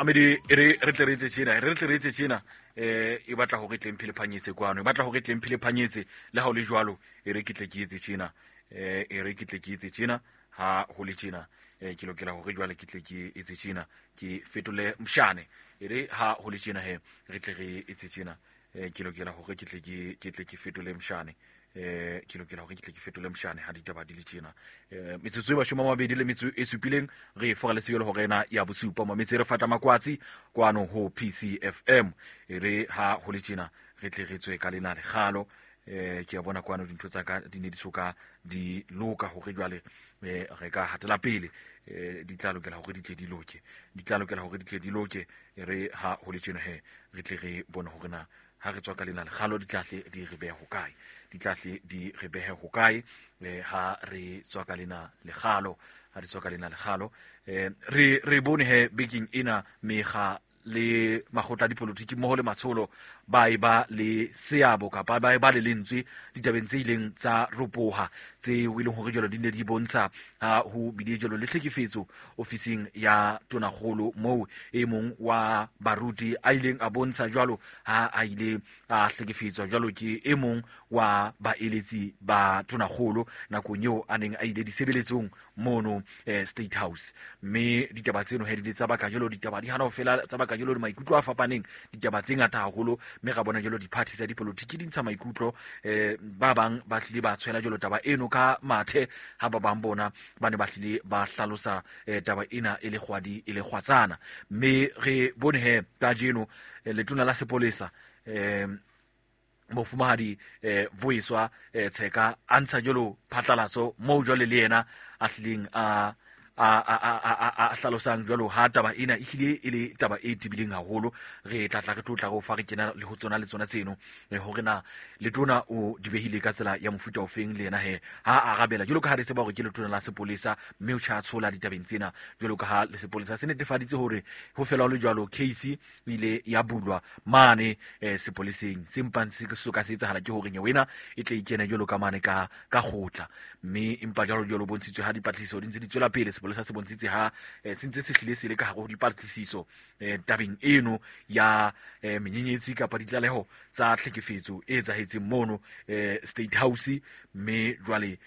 Amedi, e re re tle re etse tjena, e re re tle re etse tjena. E batla hore e tle mphele phanyetse kwano, e batla hore e tle mphele phanyetse. Le ha o le jwalo, e re ke tle ke etse tjena, e re ke tle ke etse tjena. Ha ho le tjena, ke lokela hore jwale ke tle ke etse tjena, ke fetole mshane. E re ha ho le tjena he, re tle re etse tjena. Ke lokela hore ke tle ke ke tle ke fetole mshane. Ke lokela hore ke tle ke fetole mshane ha ditaba di le tjena. Metsotso e 20 le metso e supileng re fora le seyolo hore ena ya bosupa mametse re fata makwatsi kwano ho PCFM. E re ha ho le tjena re tle re tswe ka lena lekgalo. Ke a bona kwano dintho tsa ka di ne di soka di loka hore jwale re ka hatela pele. Di tla lokela hore di tle di loke, di tla lokela hore di tle di loke. E re ha ho le tjena he re tle re bone hore na ha re tswa ka lena lekgalo di tla hle di re behe hokae, di tla hle di re behe hokae. Ha re tswa ka lena lekgalo, ha re tswa ka lena lekgalo, re bone he bekeng ena mekga le makgotla a dipolotiki mmoho le matsholo ba e ba le seabo kapa ba e ba le lentswe ditabeng tse ileng tsa ropoha tseo e leng hore jwalo di ne di bontsha ha ho bile jwalo le tlhekefetso ofising ya tonakgolo, moo e mong wa baruti a ileng a bontsha jwalo ha a ile a hlekefetswa jwalo ke e mong wa baeletsi ba tonakgolo nakong eo a neng a ile disebeletsong mono State House. Mme ditaba tseno he di le tsa baka jwalo, ditaba di hana ho fela, tsa baka jwalo maikutlo a fapaneng, ditaba tse ngata haholo. Mme ra bona jwalo di-party tsa dipolotiki di ntsha maikutlo, ba bang ba hlile ba tshwela jwalo taba eno ka mathe, ha ba bang bona ba ne ba hlile ba hlalosa taba ena e le kgwadi e le kgwatsana. Mme re bone he kajeno letona la sepolesa mofumahadi Vuyiswa Tsheka a ntsha jwalo phatlalatso moo jwale le yena a hlileng a a hlalosang jwalo ha taba ena e hlile e le taba e tebileng haholo. Re tla tla re tlo tla re o fa re kena le ho tsona le tsona tseno, hore na letona o di behile ka tsela ya mofuta ofeng le yena he ha arabela jwalo ka ha re tseba hore ke letona la sepolesa, mme o tjha tshola ditabeng tsena jwalo ka ha le sepolesa se netefaditse hore ho fela ho le jwalo case e ile ya bulwa mane sepoleseng. Se mpang se soka se etsahala ke hore nyewe ena e tle e kene jwalo ka mane ka kgotla, mme empa jwalo jwalo bontshitswe ha dipatlisiso di ntse di tswela pele. Sepolesa se bontshitse ha se ntse se hlile se le ka hare ho dipatlisiso tabeng eno ya menyenyetsi kapa ditlaleho tsa tlhekefetso e etsahetseng mono State House. Mme jwale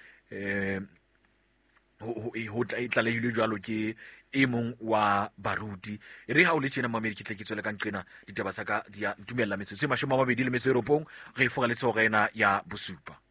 ho tlalehilwe jwalo ke e mong wa baruti. E re ha o le tjena mamedi, ke tle ke tswele ka nqena ditaba tsa ka di a ntumella. Metsotso e 29 re e fora le tshehora ena ya bosupa.